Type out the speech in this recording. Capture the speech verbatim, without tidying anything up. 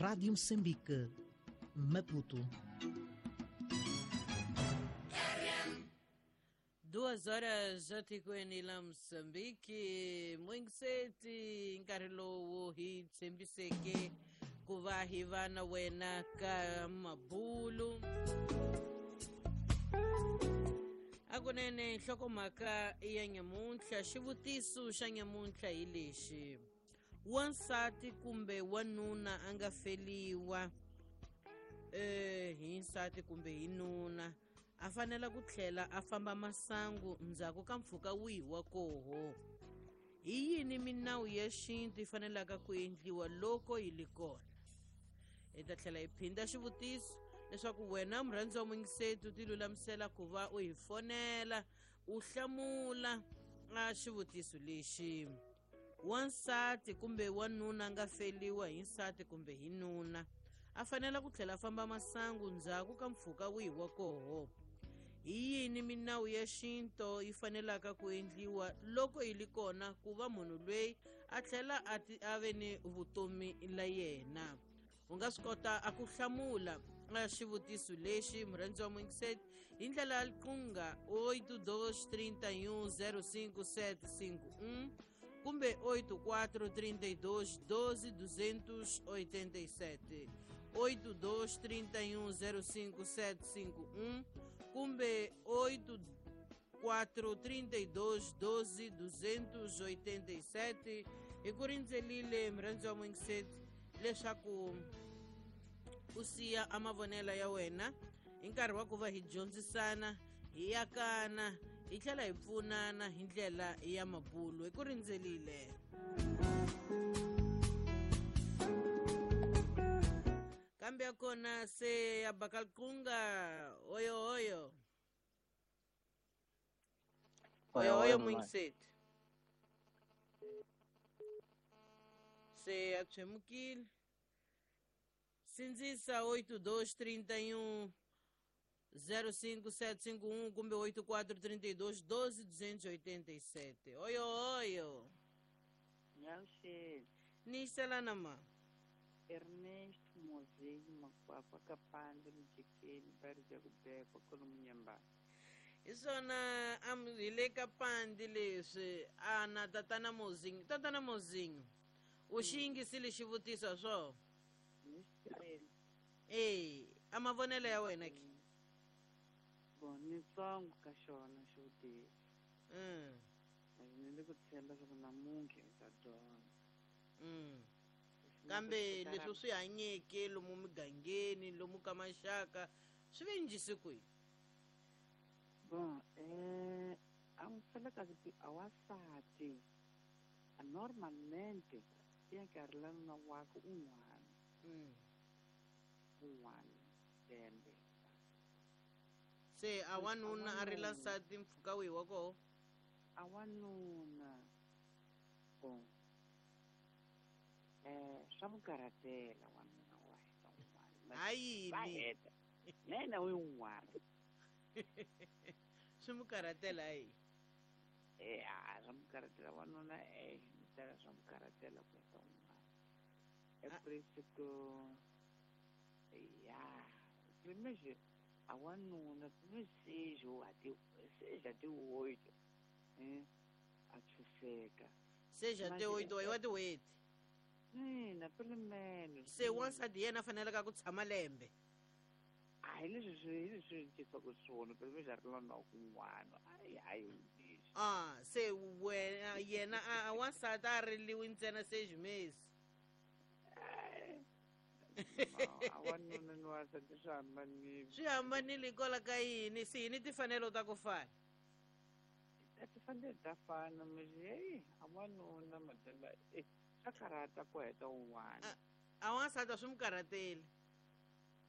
Rádio Moçambique, Maputo. Duas horas atikweni la Moçambique, mwingiseti nkarhi lowu hi tshembiseke ku va hi va na wena ka mabulu. Akunene nhlokomhaka ya nyamuntlha, xivutiso xa nyamuntlha hi lexi: wansati kumbe wanuna a nga feliwa eh hi nsati kumbe hi nuna a fanela ku tlhela a famba masangu ndzhaku ka mpfhuka wihi wa koho? Hi yini minawu ya xintu yi fanelaka ku endliwa loko yi li kona? Hi ta tlhela hi phinda xivutiso leswaku wena murhandzi wa muyingiseti u ti lulamisela ku va u hi fonela u hlamula a xivutiso lexi: wansati kumbe wanuna a nga feliwa hi nsati kumbe hi nuna a fanela ku tlhela a famba masangu ndzhaku ka mpfhuka wihi wa koho? Hi yini minawu ya xintu yi fanelaka ku endliwa loko yi li kona ku va munhu loyi a tlhela a ti a ve ni vutomi la yena? U nga swi kota a ku hlamula a xivutiso lexi, murhandzi wa muyingiseti, hi ndlela ya liqunga oito dois trinta e um zero cinco sete cinco um kumbe oito quatro trinta e dois doze duzentos oitenta e sete, oito dois trinta e um zero cinco sete cinco um kumbe oito quatro trinta e dois doze duzentos oitenta e sete. Hi ku rindzelile murhandzi wa muyingiseti leswaku u siya a mavonelo ya wena hi nkarhi wa ku va hi dyondzisana, hi yakana, hi tlhela hi pfunana hi ndlela ya mabulu. Hi ku rindzelile. Kambe ya kona se ya bakalkunga oyo oyo oyo oyo muyingiseti se ya tshwemukile. Sindzisa oito dois trinta e um zero cinco sete cinco um kumbe oito quatro trinta e dois doze duzentos e oitenta e sete. Oyo oyo. Nyaushe. Niselana ma. Ernesto Mozinho Makwakwa Kapande Mjekeni bari ja kubekwa kolomunyamba. Isona am hi le ka pandi leswi ana tatana Mozinho, tatana Mozinho. U xi yingisile xivutiso swo? Eh, a mavonelo ya wena ki? Bon, ni tsongo ka xona xivutiso. Mm. Ni le ku tshemba swa ku namuntlha hi ta dyondza. Mm. Kambe leswi swi hanyeke lomu migangeni, lomu ka maxaka, swi ve njhisi kwihi? Bon, eh, a n'wi felekazi ti a wansati a normalmente ya nkarhi la nuna wakwe un'wana. Mm. Un'wana lembe. Se a wanuna a rila nsati mpfhuka wihi wa koho? A wanuna bon eh swa n'wi karhatela wanuna wa heta un'wana. Ha yini? Na yena u yin'wana. Swi n'wi karhatela ha yini? Eh, a swa n'wi karhatela wanuna eh ni tala swa n'wi karhatela ku heta un'wana. É por isso que ya primeiro a wanuna primeiro seja até seja até oito eh a tshuseka seja até oito wa tin'hweti. Ina pelo menos se wansati yena a faneleka ku tshama lembe. A hi leswi swi hi leswi cincaka swona pelo menos a ri na kun'wana ayi hayi leswi. Ah, se wena yena a wansati a riliwi ntsena seis meses. A wanuna ni wansati swi hambanile. Swi hambanile hikwalaho ka yini? Se hi ni timfanelo ta ku fana? A timfanelo ta fana mara heyi a wanuna madala eh swa karhata ku heta un'wana. A wansati a swi n'wi karhateli.